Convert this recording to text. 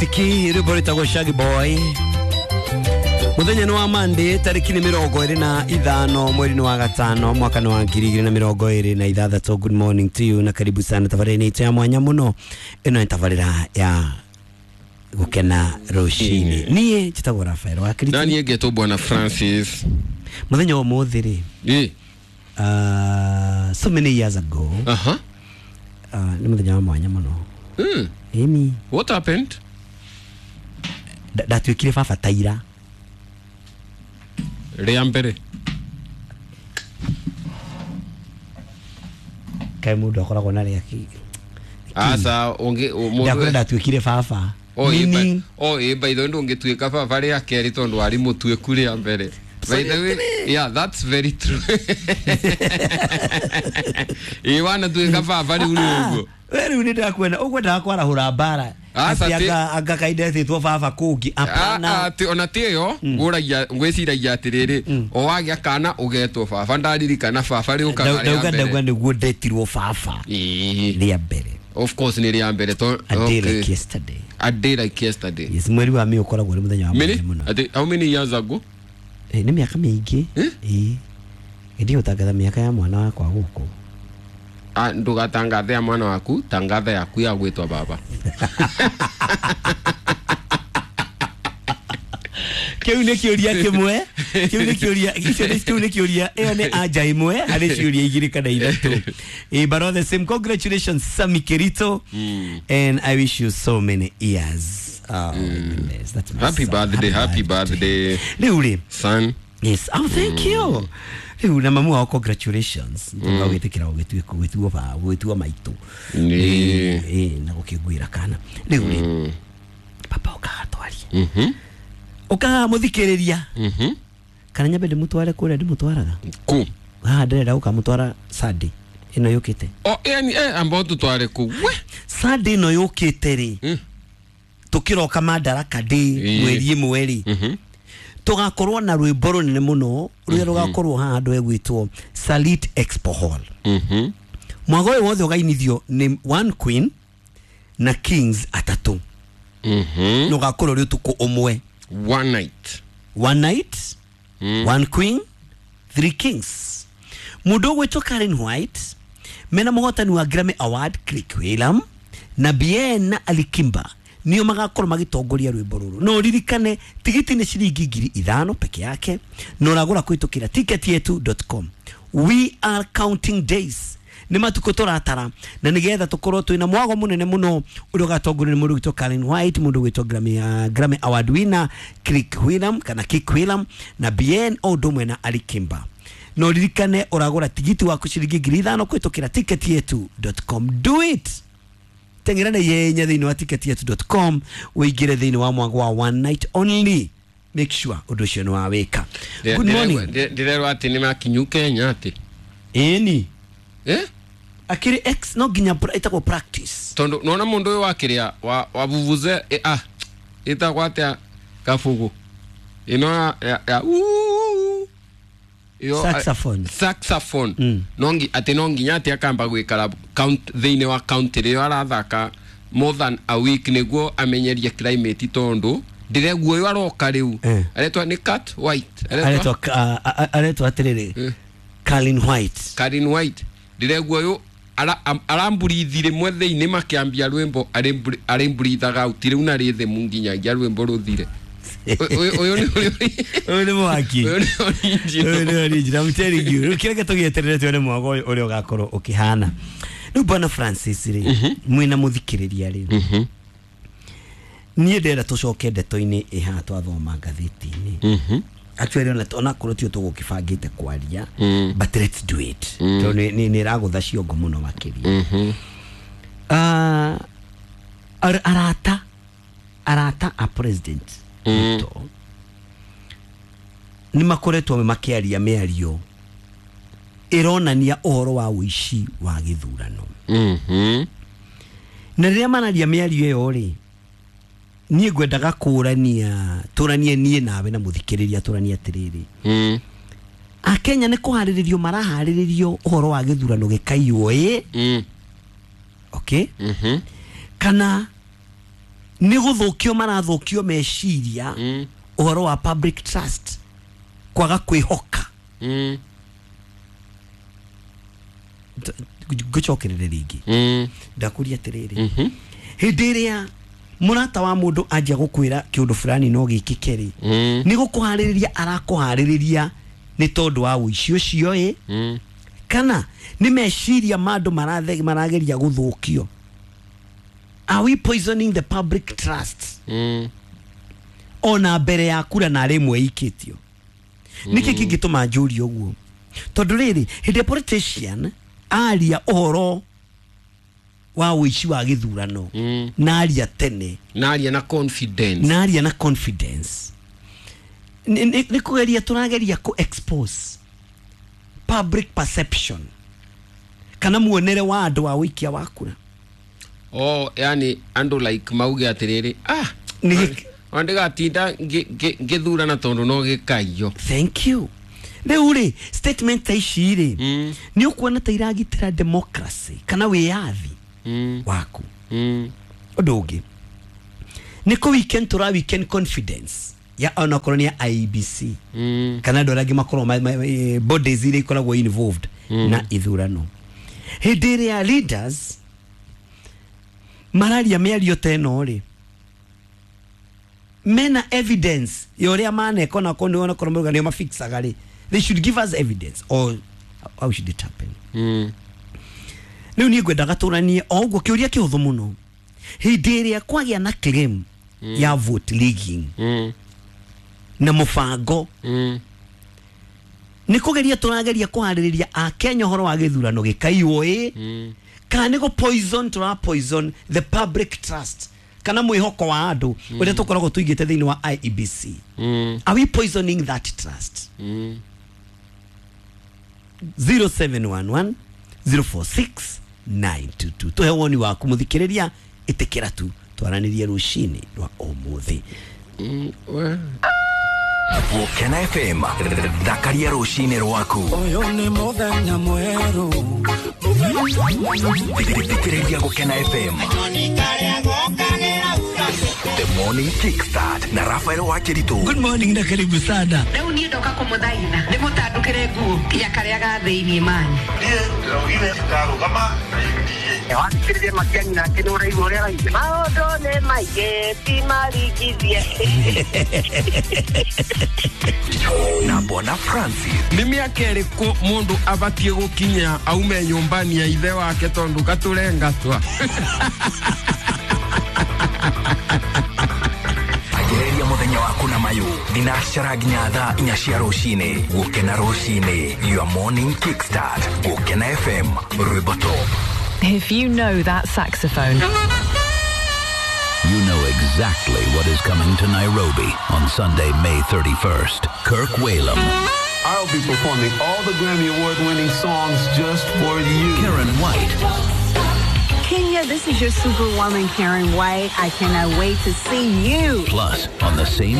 Tiki rwĩmbo rwĩtagwo Shaggy Boy. Mũthenya nĩ wa Monday, tarĩki nĩ 25 mweri-inĩ wa gatano, mwaka nĩ wa 2026. Good morning to you na karibu sana tabarĩra-inĩ itũ ya mwanya mũno. Ĩno nĩ tabarĩra ya gũkena rũcinĩ. Niĩ njĩtagwo Rafael wa Na Kiriti. niĩ ngetwo Bwana Francis. Mũthenya wa ũmũthĩ rĩ, Ĩ. so many years ago, Aha. nĩ mũthenya wa mwanya mũno. Ĩni. What happened? Ndatuĩkire baba taira. Rĩa mbere. Kaĩ mũndũ akoragwo na rĩa Aca ũngĩ ndakwĩra mũndũ ndatuĩkire baba. Oh, ĩ, Meaning- oh, ĩ, by the way ndũngĩtuĩka baba rĩa kerĩ tondũ warĩ mũtuĩku rĩa mbere. By the way, yeah, that's very true. Ĩ wanatuĩka baba rĩu nĩ ũguo. We rĩu nĩ ndakuona ũkwendaga kwarahũra mbara. Aca, Atĩ anga kaindetĩtwo baba kũngĩ. Hapana. Ona ti ĩyo ngũragia ngwĩciragia atĩrĩrĩ, o wagĩa kana ũgetwo baba, ndaririkana baba rĩũkaga rĩa Ndauga mbere. ndauga nĩguo ndetirwo baba Ĩĩ. rĩa mbere. Of course nĩ rĩa mbere to A day okay. like yesterday. A day like yesterday. Yes, mweri wa May ũkoragwo ũrĩ mũthenya wa Many? mwanya mũno. Ati, how many years ago? Nĩ mĩaka mĩingĩ. Eh? Ĩĩ. Ĩndĩ gũtangatha mĩaka ya mwana wakwa gũkũ. Ah, ndũgatangathe ya mwana waku, tangatha yaku ya gwĩtwo baba. Kĩu nĩ kĩũria kĩmwe. Kĩu nĩ kĩũria, icio nĩ, kĩu nĩ kĩũria, ĩyo nĩ anja ĩmwe harĩ ciũria igĩrĩ kana ithatũ. But all the same, congratulations Sammy Kirito. And I wish you so many years. Oh, my goodness, that's my Happy son. birthday, happy birthday, Rĩu rĩ. son. Yes, oh, thank you. Rĩu na mamu wao congratulations. Ndoga gwĩtĩkĩra gũgĩtuĩka gwĩtuo ba gwĩtuo maitũ. Nĩ. Ĩ, na gũkĩnguĩra kana. Rĩu rĩ. Papa ũkaga twarie. Ũkaga mũthikĩrĩria. Kana nyambe ndĩmũtware kũrĩa ndĩmũtwaraga. Ku. Haha ndĩrenda gũkamũtwara Sunday ĩno yũkĩte. Oh, yani amba ũtũtware kũ. We. Sunday ĩno yũkĩte rĩ. Tũkĩroka Madaraka Day mweri ĩmwe rĩ. Tũgakorwo na rwĩmbo rũnene mũno rũrĩa rũgakorwo haha handũ hegwĩtwo Salit Expo Hall. Mwago ũyũ wothe ũgainithio nĩ One Queen na Kings atatũ. Na ũgakorwo ũrĩ ũtukũ ũmwe. One night. One night, one queen, three kings. Mũndũ ũgwĩtwo Karen White mena mũhotani wa Grammy Award Click William na Bien na Alikimba nio magakorwo magĩtongoria rwĩmbo rũrũ. No ũririkane tigiti nĩ ciringi 5,000 peke yake na ũragũra kũhĩtũkĩra ticketyetu.com. We are counting days. Nĩ matukũ tũratara na nĩgetha tũkorwo twĩna mwago mũnene mũno ũrĩa ũgatongorio nĩ mũndũ ũgwĩtwo Karen White, mũndũ ũgwĩtwo Grammy Award winner Click William kana Kick William na Bien o ũndũ ũmwe na Alikimba. Na ũririkane ũragũra tigiti waku ciringi 5,000 kũhĩtũkĩra ticketyetu.com. Do it. Teng'era na ihenya thĩinĩ wa ticketyetu.com ũingĩre thĩinĩ wa mwago wa one night only. Make sure ũndũ ũcio nĩ wawĩka. Good morning. Ndĩrerwo atĩ nĩ makinyu Kenya atĩ. Ĩni. Eh? Akĩrĩ ex no nginya ĩtagwo practice. Tondũ nona mũndũ ũyũ wakĩrĩa wa vuvuze, ĩtagwo atĩa kabugu ĩno ya uu, ĩyo, Saxophone. Saxophone. No atĩ no nginya atĩ akamba gwĩkara thĩinĩ wa county rĩrĩa arathaka more than a week nĩguo amenyerie climate tondũ ndĩreguo ũyũ aroka rĩu. Aretwa nĩ Cat White. Aretwa, aretwa atĩrĩrĩ, Colin White. Colin White. Ndĩreguo ũyũ aramburithi rĩmwe thĩinĩ makĩambia rwĩmbo arĩmburithaga out rĩu na rĩthĩmu nginyagia rwĩmbo rũthire. Ũyũ nĩ Ũyũ nĩ mwaki. Ũyũ nĩ original. Ũyũ nĩ original. I'm telling you. Rĩu kĩreke tũgĩeterere tuone mwago ũyũ ũrĩa ũgakorwo ũkĩhana. Rĩu Bwana Francis rĩ, mwĩna mũthikĩrĩria rĩ. Niĩ ndĩrenda tũcoke ndeto-inĩ ĩ haha twathoma ngathĩti-inĩ. Actually, ona korwo tio tũgũkĩbangĩte kwaria, but let's do it. Tondũ nĩ ĩragũtha ciongo mũno makĩria. Arata a President Ruto nĩ makoretwo makĩaria mĩario ĩronania ũhoro wa ũici wa gĩthurano. Na rĩrĩa mararia mĩario ĩyo rĩ, niĩ ngwendaga kũrania, tũranie niĩ nawe na mũthikĩrĩria, tũranie atĩrĩrĩ. Akenya nĩ kũharĩrĩrio maraharĩrĩrio ũhoro wa gĩthurano gĩkaiywo ĩ? Okay? Kana Nĩ gũthũkio marathũkio meciria ũhoro wa public trust kwaga kwĩhoka. Ngũcokerere rĩngĩ. Ndakũria atĩrĩrĩ, hĩndĩ ĩrĩa mũrata wa mũndũ anjia gũkwĩra kĩũndũ fulani no gĩkĩke rĩ, nĩ gũkũharĩrĩria arakũharĩrĩria nĩ tondũ wa ũici ũcio ĩ, kana nĩ meciria ma andũ marageria gũthũkio? Are we poisoning the public trust? Ona mbere ya kura na rĩmwe ikĩtio. Nĩkĩ kĩngĩtũma njũrie ũguo? Tondũ rĩrĩ, hĩndĩ politician aria ũhoro wa ũici wa gĩthurano, na aria tene, naria na confidence, na aria na confidence, nĩ kũgeria tũrageria kũ expose public perception kana muonere wa andũ wa ũikia wa kura. Oh, yani andũ like mauge atĩrĩrĩ, ah, ndigatinda ngĩthurana tondũ no gĩkaiyo. Thank you. Rĩu rĩ, statement ta ici rĩ, nĩ ũkuona ta iragitĩra democracy kana wĩyathi waku? Ũndũ ũngĩ nĩ kũ weekend tũra weekend confidence ya onakorwo nĩ ya IEBC kana andũ arĩa angĩ makorwo bodies iria ikoragwo involved na ithurano. Hĩndĩ ĩrĩa leaders mararia mĩario ta ĩno rĩ, mena evidence ya ũrĩa maneka, onakorwo nĩ onakorwo mauga nĩo mafixaga rĩ, they should give us evidence, or how should it happen? Rĩu niĩ ngwendaga tũranie o ũguo kĩũria kĩhũthũ mũno. Hĩndĩ ĩrĩa kwagĩa na claim ya vote rigging na mũbango, nĩ kũgeria tũrageria kũharĩrĩria akenya ũhoro wa gĩthurano gĩkaiywo ĩ, kana nĩ gũ poison tũra poison the public trust kana mwĩhoko wa andũ ũrĩa tũkoragwo tũigĩte thĩinĩ wa IEBC? Are we poisoning that trust? 0711 046 922. Tuhe woni waku mũthikĩrĩria, ĩtĩkĩra tu twaranĩrie rũcinĩ rwa ũmũthĩ. Gũkena FM, thakaria rũcinĩ rwaku. Ũyũ nĩ mũthenya mwerũ. Thikĩrĩria Gũkena FM. The Morning Kickstart na Rafael Wakiritu. Good morning na karibu sana. Rĩu niĩ ndoka kũmũthaitha ndĩmũtandũkĩre nguo nginya karĩa ga thĩiniĩ manyu. Niĩ ndĩraugire ndarũgama na UDA. Wathikĩrĩria Matiang'i nake nĩ ũraigua ũrĩa araigua. Maũndũ nĩ maingĩ ti maringithie. Na Bwana Francis. Nĩ mĩaka ĩrĩkũ mũndũ abatiĩ gũkinya aume nyũmbani ya ithe wake tondũ gatũrengatwa? Anjĩrĩria mũthenya waku na mayũ thinacara nginya thaa 4 cia rũcinĩ. Gũkena rũcinĩ, your morning kickstart. Gũkena FM, rwĩmbo top. If you know that saxophone, you know exactly what is coming to Nairobi on Sunday, May 31st. Kirk Whalum. I'll be performing all the Grammy Award-winning songs just for you. Karen White. Kenya, this is your superwoman, Karen White. I cannot wait to see you. Plus, on the same